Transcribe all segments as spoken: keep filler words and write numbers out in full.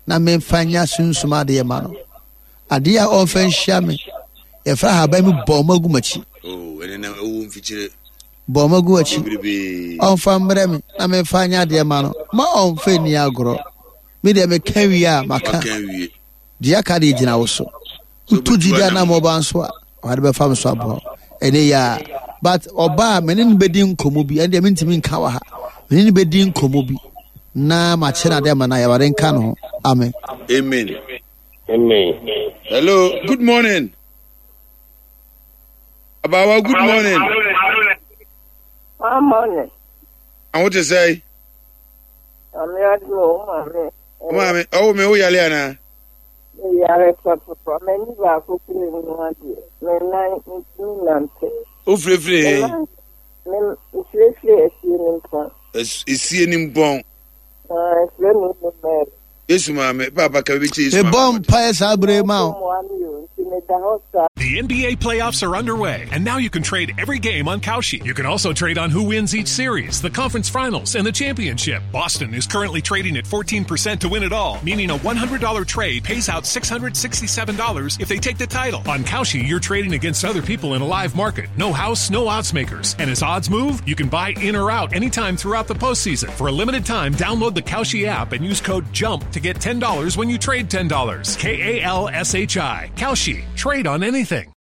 Na memfa nya sunsum adeɛ ma no. Adeɛ a ɔmfa nhyia me. Yɛfrɛ ahaban mi bɔn mu agu m'akyi. Oh, ɛne na ɛwɔ mfikyire. Bɔn mu agu akyi. Ɔmfa mbrɛ me na memfa nya adeɛ ma no. Ma ɔmfa nni agorɔ. Me deɛ meka wie a maka. Deɛ aka deɛ gyina wo so. Wotu gyidi anam ɔba nso a, ɔde bɛfa me so aboa. Ɛne yɛ a. But ɔba a me ne no bɛdi nkɔmmɔ bi. Ɛne deɛ mentumi nka wɔ ha. Me ne no bɛdi nkɔmmɔ bi. Na makyɛ no adeɛ ma no ayɛ. Awurade nka ne ho. Amen. Amen. Amen. Hello, good morning. Abawa, good morning. Good morning. Awo te sɛ. Maame adum o maame. Maame, ɔwɔ mi o yale ana? Me yare pɔtɔpɔ, m'ani baako kura mu adeɛ, me nan ntumi nante. O firefire he? Me firefire esie ne mpɔn. Esie ne mpɔn. Ah, efire mi mu mɛri. Yesu maame, paapa ka bi kyerɛ Yesu maame. Mebɔ mpaeɛ saa bere ma wo. The N B A playoffs are underway, and now you can trade every game on Kalshi. You can also trade on who wins each series, the conference finals, and the championship. Boston is currently trading at fourteen percent to win it all, meaning a one hundred dollar trade pays out six hundred sixty-seven dollars if they take the title. On Kalshi, you're trading against other people in a live market. No house, no odds makers. And as odds move, you can buy in or out anytime throughout the postseason. For a limited time, download the Kalshi app and use code JUMP to get ten dollars when you trade ten dollars. K A L S H I. Kalshi. Trade on anything.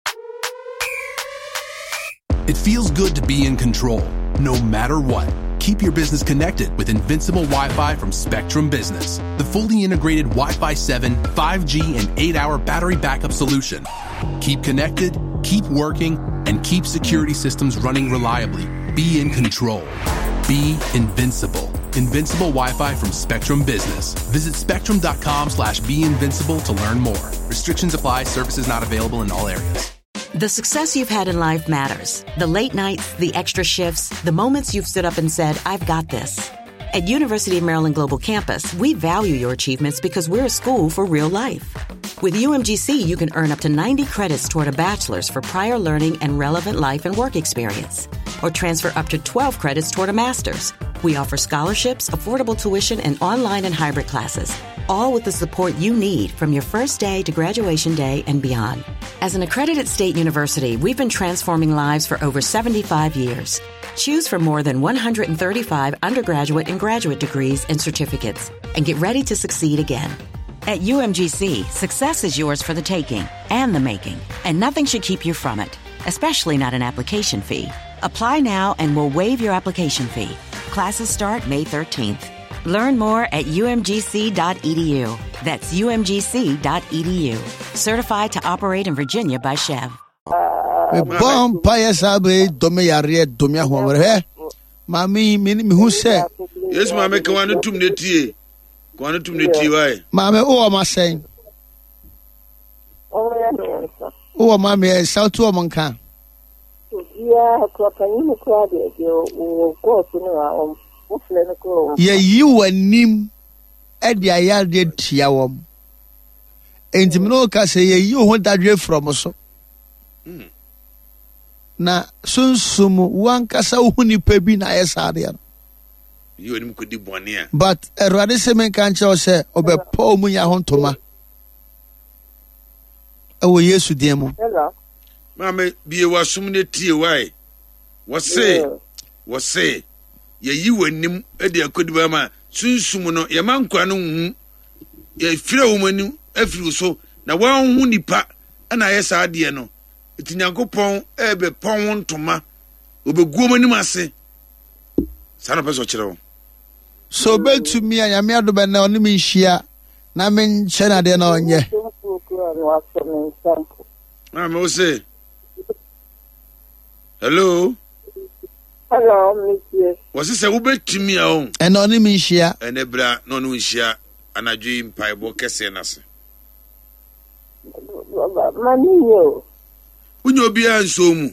It feels good to be in control, no matter what. Keep your business connected with Invincible Wi-Fi from Spectrum Business, the fully integrated Wi-Fi seven, five G, and eight-hour battery backup solution. Keep connected, keep working, and keep security systems running reliably. Be in control. Be invincible. Invincible Wi-Fi from Spectrum Business. Visit spectrum.com slash be invincible to learn more. Restrictions apply. Services not available in all areas. The success you've had in life matters. The late nights, the extra shifts, the moments you've stood up and said, I've got this. At University of Maryland Global Campus, we value your achievements because we're a school for real life. With U M G C, you can earn up to ninety credits toward a bachelor's for prior learning and relevant life and work experience, or transfer up to twelve credits toward a master's. We offer scholarships, affordable tuition, and online and hybrid classes, all with the support you need from your first day to graduation day and beyond. As an accredited state university, we've been transforming lives for over seventy-five years. Choose from more than one hundred thirty-five undergraduate and graduate degrees and certificates, and get ready to succeed again. At U M G C, success is yours for the taking and the making, and nothing should keep you from it, especially not an application fee. Apply now and we'll waive your application fee. Classes start May thirteenth. Learn more at U M G C dot E D U. That's U M G C dot E D U. Certified to operate in Virginia by C H E V. Me bɔ mpaeɛ saa bere yi, dome yareɛ, dome ahoɔmmerɛ. Hwɛ, maame yi, me ne, mehu sɛ Yesu maame, ka w'ano tum na tie. Ka w'ano tum na tie, wae. Maame, wowɔ ma sɛn? Wowɔ ma mmiɛnsa, wotu wɔn nka? Obiara kura panyin kura deɛ, deɛ wɔ kɔɔso no a, wɔn wofrɛ no kura wɔn. Yɛyi w'anim de ayareɛ tia wɔn. Enti me ne wo ka sɛ yɛyi wo ho dadwe firi wɔn so. Hmm. Na sunsum wo ankasa wo ho nipa bi na ayɛ saa adeɛ no. Yi w'anim kɔdi bɔne a. But Awurade sɛ menka nkyerɛ wo sɛ ɔbɛpɔ wo mu nya ho ntoma. Ɛwɔ Yesu din mu. Hello. Maame, bie w'asom ne tie wae. Wɔse, wɔse, yɛyi w'anim de akɔdi bɔne ma sunsum no, yɛma nkwa no nhu. Yɛfiri wɔn anim afiri wo so, na wɔanhu nipa na ayɛ saa adeɛ no. Nti Nyankopɔn ɛbɛpɔn wo ntoma, ɔbɛgu wɔn anim ase. Saa na ɔpɛ sɛ ɔkyerɛ wo. So obetumi a Nyame adom ɛnɛ ɔne me nhyia na menkyɛ no adeɛ na ɔnyɛ. Maame wo se hello. Hello, Monsieur. Wɔse sɛ wobɛtumi a o. Ɛnɛ ɔne me nhyia. Ɛnɛ bra na ɔne wo nhyia anadwo yi mpaebɔ kɛseɛ no ase. Ma ne nyɛ o. Wonya obiara nsuo mu.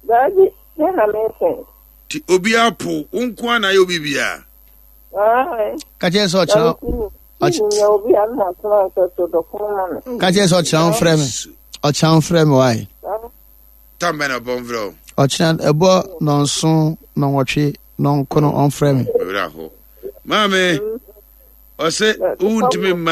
Daabi, me na mesɛn. Ti obiara po, wo nko ara na ayɛ obi biara. Ka kyerɛ sɛ ɔkyerɛ Ka kyerɛ sɛ ɔkyerɛ wo frɛ me. Ɔkyerɛ wo frɛ me wae. Tam bɛn na ɔbɔ mfrɛ wo? Ɔkyerɛ ɛbɔ nɔnson nɔnwɔtwe nɔnkono ɔmfrɛ me. Ɔwerɛ aho. Maame, ɔsɛ wontumi mma